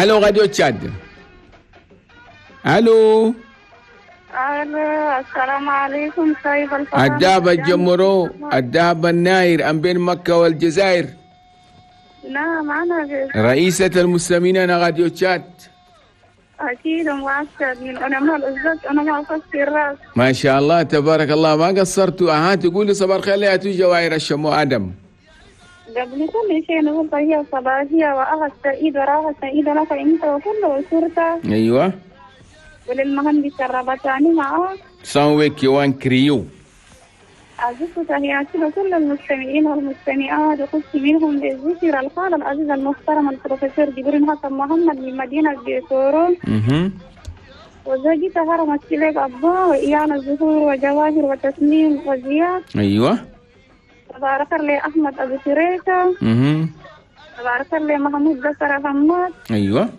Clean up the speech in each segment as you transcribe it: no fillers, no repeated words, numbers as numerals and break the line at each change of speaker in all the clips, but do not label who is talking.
الو راديو تشاد. الو.
الو السلام عليكم سيد الفضل.
الدهب الجمرو، الدهب الناير ام بين مكة والجزائر.
نعم انا
رئيسة المسلمين، انا راديو تشاد.
اكيد مؤكد من انا ما الأستاذ انا ما افكر الراس.
ما شاء الله تبارك الله ما قصرتوا. اها تقولي صباح الخير يا جواهر الشمو ادم.
قبل كل شيء نقول تحية صباحية وأهل سعيد وراحة سعيدة لك أنت وكل أسرتك.
أيوة.
وللمهندس الربطاني معك.
سانويكي وان كريو.
أعزف تحياتي لكل المستمعين والمستمعات، وخص منهم بالذكر الخال العزيز المحترم البروفيسور جبرين حسن محمد من مدينة بيتورو. وزوجته هرم السليك أبا وإيانا الزهور وجواهر وتسنيم وزياد.
أيوة.
تبارك الله أحمد أبو شريكة. تبارك الله محمود بكر حماد.
أيوة.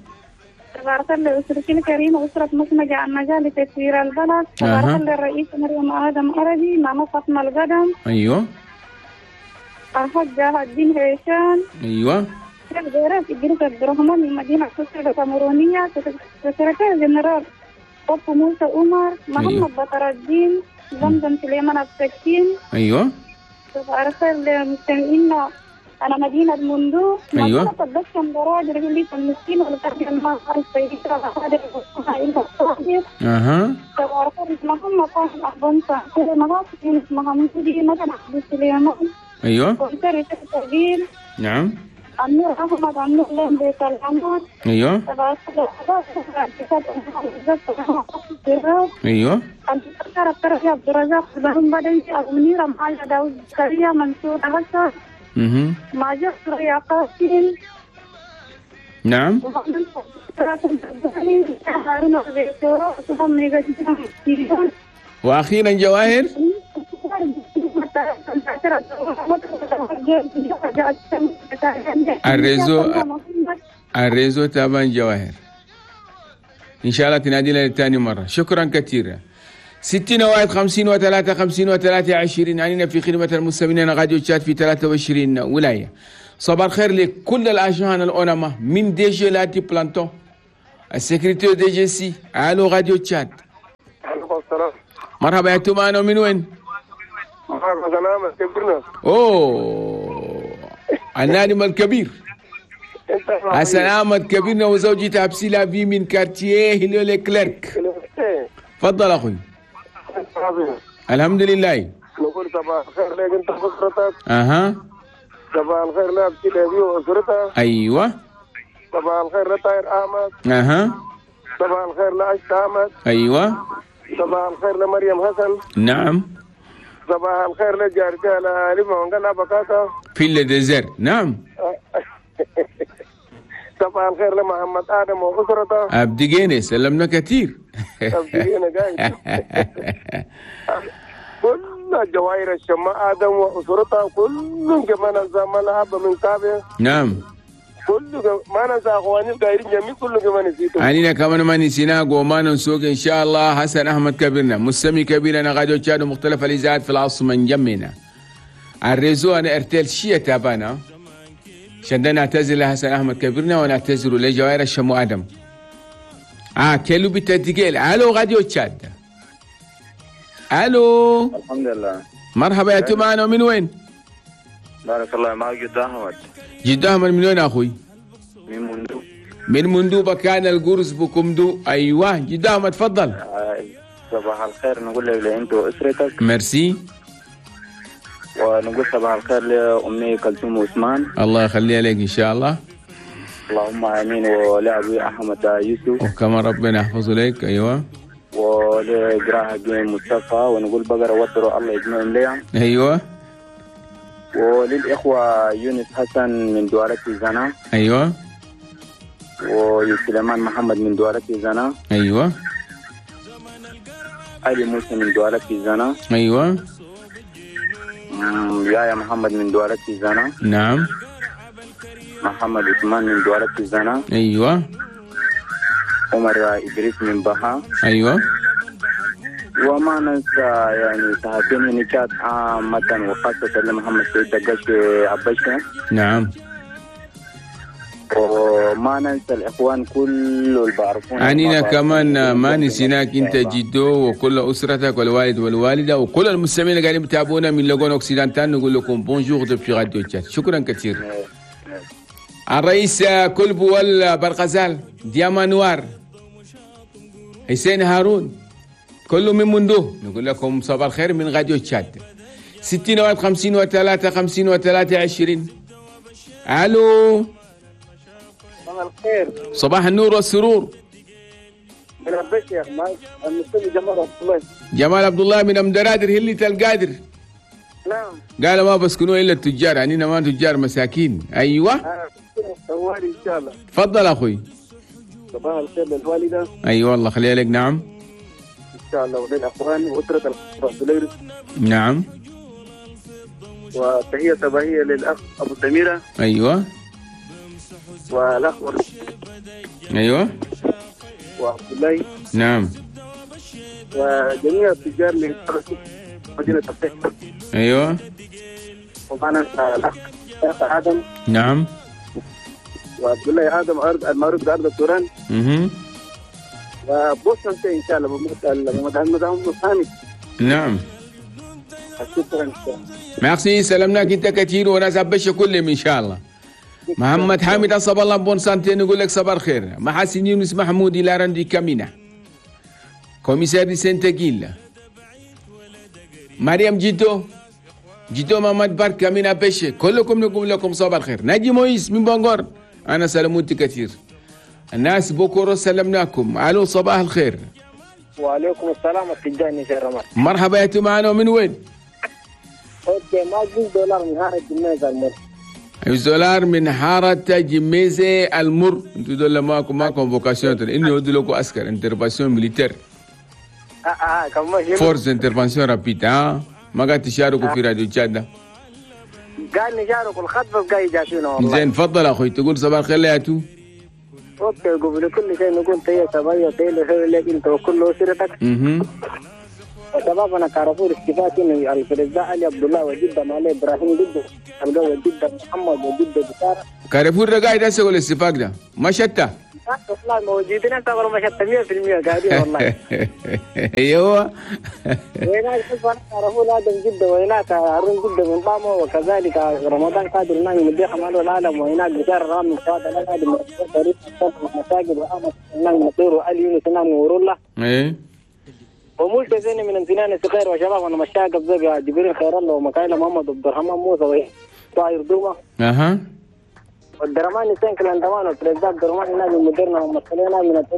تبارك الله أسرتي الكريمة أسرة مخمجة النجاة لتسوير البلد. تبارك الله الرئيس مريم آدم عربي ماما فاطمة القدم.
أيوة.
الحاج الدين هيشان.
أيوة.
الغيرات إدريس عبد الرحمن من مدينة قصر الكاميرونية. سكرتير جنرال أبو موسى عمر. محمد بطر الدين. زمزم سليمان السكين.
أيوة.
تبارك الله مستمعينا أنا مدينة مندو.
أيوة. أها. أيوة. نعم. أيوة. أيوة. نعم. وأخيرا جواهر. ال réseau تابان جواهر. إن شاء الله تنادي لنا ثاني مرة. شكرا كثيرا. 60 1 53 53 20 علينا في خدمة المستمعين راديو تشاد في 23 ولاية. صباح الخير لكل الأجهان الأونما من DG لاتي بلانتون السكرتير DG سي. الو راديو تشاد.
عليكم السلام.
مرحبا يا تومانو، من وين؟
مرحبا سلامة كبرنا.
اوه النادم الكبير حسن احمد كبيرنا وزوجته أبسيلا في من كارتيه هليو كليرك. تفضل اخوي. الحمد لله.
نقول صباح الخير لك انت واسرتك.
اها.
صباح الخير لأبسيلا في واسرتها.
ايوه.
صباح الخير لطاهر احمد.
اها.
صباح الخير لعشت احمد.
ايوه.
صباح الخير لمريم حسن.
نعم.
صباح الخير لجارتي على لما بكاتا
في الديزر. نعم.
صباح الخير لمحمد ادم واسرته.
ابدقيني سلمنا كثير.
ابدقيني قاعد. كل الجواهر الشماء ادم واسرته كلهم كمان زمان اب من كابه.
نعم.
كل ما ننسى اخواني القايرين جميع كل كمان نسيتهم.
علينا كمان ما نسينا وما ننسوك ان شاء الله. حسن احمد كبيرنا مستمع كبيرنا راديو تشاد ومختلف الاذاعات في العاصمه نجمنا. ال réseau انا ارتيل شيء تابانا. عشان نعتذر لحسن احمد كبيرنا ونعتذر لجوائر الشمو ادم. كيلو بتتقيل. الو راديو تشاد. الو.
الحمد لله.
مرحبا يا تومانو، من وين؟
بارك الله معك جد احمد.
جد احمد من وين اخوي؟
من مندوب.
من مندوب كان القرص بكمدو. ايوه جد احمد تفضل.
صباح الخير نقول لك انت واسرتك.
ميرسي.
ونقول صباح الخير لامي كلثوم عثمان.
الله يخليها لك ان شاء الله.
اللهم امين. ولابي احمد يوسف.
وكما ربنا يحفظه لك. ايوه.
ولجراح جيم مصطفى ونقول بقرة وتروا الله يجمعهم ليهم.
ايوه.
وللإخوة يونس حسن من دوارة زنا.
أيوة.
وسليمان محمد من دوارة زنا.
أيوة.
علي موسى من دوارة زنا.
أيوة.
يايا محمد من دوارة زنا.
نعم.
محمد عثمان من دوارة زنا.
أيوة.
عمر إدريس من بها.
أيوة.
وما ننسى يعني صحفيين نكات عامة وخاصة لمحمد سيد دقاش عباشة.
نعم.
وما ننسى الاخوان كل اللي بعرفونا.
عنينا كمان ما نسيناك انت جدو وكل اسرتك والوالد والوالدة وكل المستمعين اللي قاعدين يتابعونا من Logone Occidental. نقول لكم bonjour depuis راديو تشاد. شكرا كثير. الرئيس كلب والبرغزال، دياما نوار، حسين هارون، كله من مندوه، نقول لكم صباح الخير من راديو تشاد. 60 1 53 53 20. الو،
صباح الخير.
صباح النور والسرور.
من البشر المستمع جمال عبد الله.
جمال عبد الله من امدرادر هلة القادر.
نعم.
قال ما بسكنوا الا التجار، يعني ما تجار مساكين. ايوه.
ان شاء الله.
تفضل اخوي.
صباح الخير للوالده.
ايوه والله خليها لك. نعم.
ان شاء الله وللاخوان واسره العبد.
نعم.
وتحية صباحية للاخ ابو سميرة.
ايوه.
والاخ
ايوه
وعبد الله.
نعم.
وجميع التجار اللي مدينة الفتح.
ايوه.
ومعنا الاخ ادم.
نعم.
وعبد الله ادم ارض المعروف بارض التوران. وبوسن ان شاء الله بمثل.
نعم.
شكرا.
ميرسي، سلمناك انت كثير وناس عبشه كلهم ان شاء الله. محمد حامد أصب الله bonne santé، نقول لك صباح الخير. محاسن يونس محمود إلى رندي كامينا، commissaire دي سنتجيل، مريم جيتو جيتو، محمد بركة من أبشة، كلكم نقول لكم صباح الخير. ناجي مويس من بنغور، أنا سلمت كثير. الناس بكرة سلمناكم. ألو صباح الخير.
وعليكم السلام التجاني شرمات.
مرحبا يا معنا من وين؟
okay، ما دولار من حارة جميزة المر.
دولار من حارة جميزة المر. انتوا دول معكم ما convocation، انه يودوا لكم عسكر intervention militaire. force intervention rapide. ما قاعد تشاركوا في راديو تشاد.
قال نشاركوا الخط بس قاعد يجاشونا والله.
زين تفضل اخوي، تقول صباح الخير يا تو.
okay، قبل كل شيء نقول تحية صباحية تحية لك انت وكل اسرتك. شبابنا كارفور استفاق انه الفرزاء علي عبد الله وجده مالي ابراهيم جده القوي جده محمد وجده بشارة.
كارفور ده قاعد هسه ولا استفاق ده؟ ما شتى؟
والله موجودين هسه ما شتى 100% قاعدين والله.
ايوه.
وهناك كارفور ادم جده وهناك هارون جده من طامة، وكذلك رمضان قادر نايم من الديخ مالو العالم، وهناك بشار رامي فؤاد الادم مساجد وامس نايم نصير وعلي يونس نايم ورولة.
ايه.
وملك زين من امتنان الصغير وشباب وانا مشاق بزق جبريل خير الله ومكايل محمد عبد الرحمن موسى وطاير دومه. اها. والدرمان سنكل اندمان والبريزداد درمان نادي مديرنا ومسؤولينا من